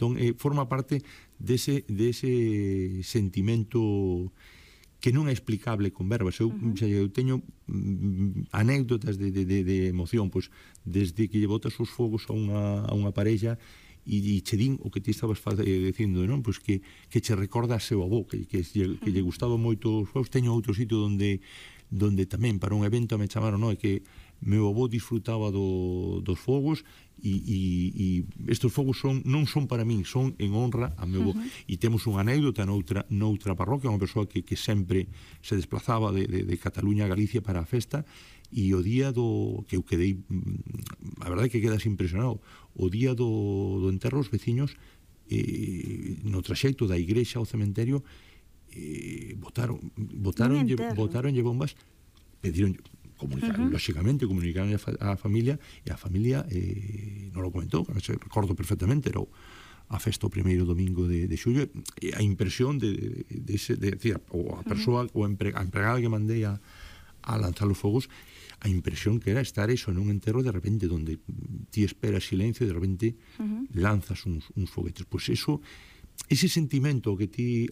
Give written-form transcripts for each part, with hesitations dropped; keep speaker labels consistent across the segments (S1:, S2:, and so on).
S1: Entón, forma parte dese sentimento que non é explicable con verbas. Eu teño anécdotas de emoción, pois, desde que lle botas os fogos a unha parella e che din o que ti estabas dicindo, non? Pois que che recorda a seu avó, que lle gustaba moito os fogos. Teño outro sitio onde tamén para un evento me chamaron, non? Que meu avó disfrutaba dos fogos e estes fogos non son para min, son en honra a meu avó. E temos unha anécdota noutra parroquia, unha persoa que sempre se desplazaba de Cataluña a Galicia para a festa, e o día que eu quedei, a verdade é que quedas impresionado, o día do enterro os veciños no traxecto da igrexa ao cementerio botaronlle bombas, pediron lóxicamente comunicaron a familia, e a familia non lo comentou, recordo perfectamente, era a festa o primeiro domingo de xullo, e a impresión de decir, a persoa, a empregada que mandei a lanzar os fogos, a impresión que era estar eso en un enterro de repente donde ti esperas silencio e de repente lanzas uns foguetes. Pois eso, ese sentimento que ti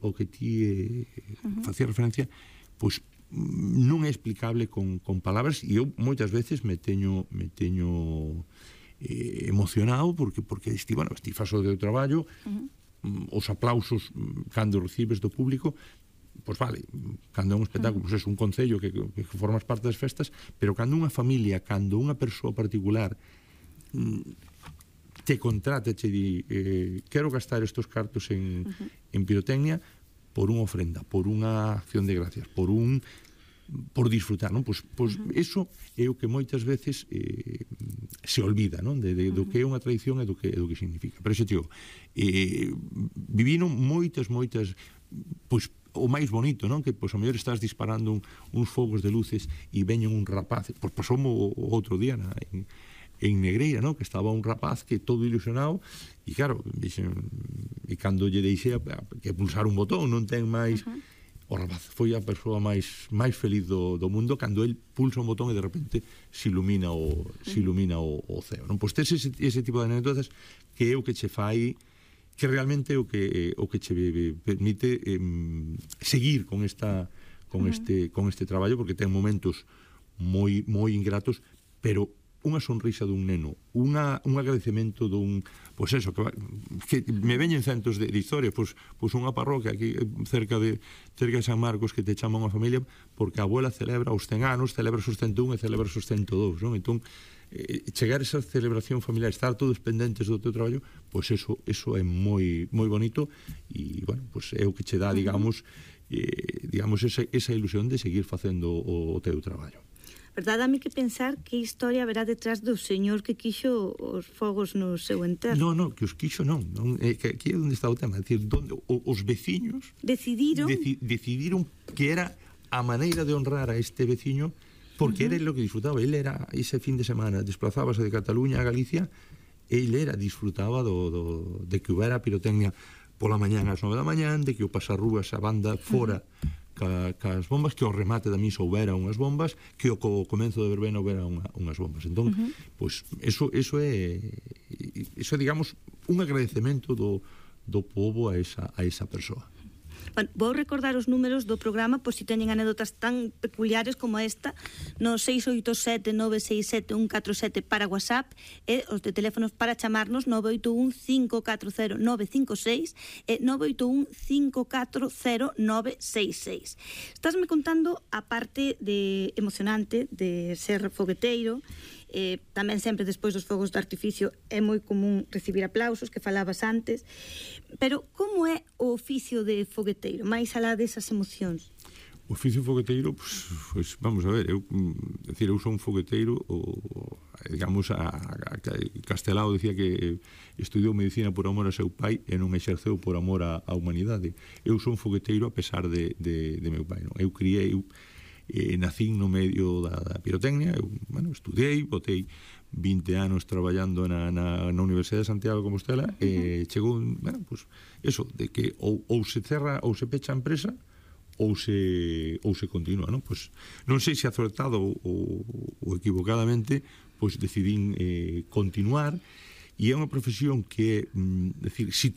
S1: facía referencia, pois non é explicable con palabras, e eu moitas veces me teño emocionado porque ti fas o teu traballo, os aplausos cando recibes do público, pois vale, cando é un espectáculo, pois é un concello que formas parte das festas, pero cando unha familia, cando unha persoa particular te contrata, te di quero gastar estos cartos en pirotecnia por unha ofrenda, por unha acción de gracias, por disfrutar, non? Pois eso é o que moitas veces se olvida, non? Do que é unha tradición e do que significa. Pero iso, tío, viviron moitas, pois o máis bonito, non? Que, pois, a mellor estás disparando uns fogos de luces e veñen un rapaz, pois pasoume o outro día en Negreira, non? Que estaba un rapaz que todo ilusionado, e claro, e cando lle deixei que pulsar un botón, non ten máis, o rapaz foi a persoa máis feliz do mundo cando el pulsa un botón e de repente se ilumina o ceo, non? Pois tes ese tipo de anécdotas que é o que che fai, que realmente é o que che permite seguir con este traballo, porque ten momentos moi ingratos, pero unha sonrisa dun neno, un agradecemento pois eso, que me veñen centos de historias, pois unha parroquia aquí cerca de San Marcos que te chama unha familia porque a abuela celebra os 100 anos, celebra os 101 e celebra os 102, non? Entón, chegar a esa celebración familiar, estar todos pendentes do teu traballo, pois eso é moi bonito, e, bueno, pois é o que che dá, digamos, esa ilusión de seguir facendo o teu traballo.
S2: Verdade, dame que pensar que historia haberá detrás do señor que quixo os fogos no seu enterro.
S1: Non, que os quixo non, que aquí é onde está o tema, é dicir, os veciños decidiron que era a maneira de honrar a este veciño, porque era lo que disfrutaba. Ele era, ese fin de semana, desplazábase de Cataluña a Galicia, disfrutaba de que houbera pirotecnia pola mañán ás 9 da mañán, de que o pasarrúas a banda fora cas bombas, que ao remate da misa houbera unhas bombas, que ao comenzo de verbena houbera unhas bombas. Entón, pois, eso é, digamos, un agradecemento do pobo a esa persoa.
S2: Bueno, vou recordar os números do programa, pois se teñen anécdotas tan peculiares como esta, no 687-967-147 para WhatsApp, e os de teléfonos para chamarnos 981-540-956 e 981-540-966. Estásme contando a parte emocionante de ser fogueteiro. Tamén sempre despois dos fogos de artificio é moi común recibir aplausos, que falabas antes, pero como é o oficio de fogueteiro, máis alá desas emocións?
S1: O oficio fogueteiro, pois vamos a ver, eu son un fogueteiro, digamos, Castelao decía que estudiou medicina por amor a seu pai e non exerceu por amor á humanidade. Eu son fogueteiro a pesar de meu pai, non? Eu nacín no medio da pirotecnia, eu, estudiei, botei 20 anos traballando na Universidade de Santiago de Compostela, e chegou, eso, de que ou se cerra ou se pecha a empresa ou se continúa, non? Pois non sei se acertado ou equivocadamente, pois decidín continuar, e é unha profesión que, decir, si todo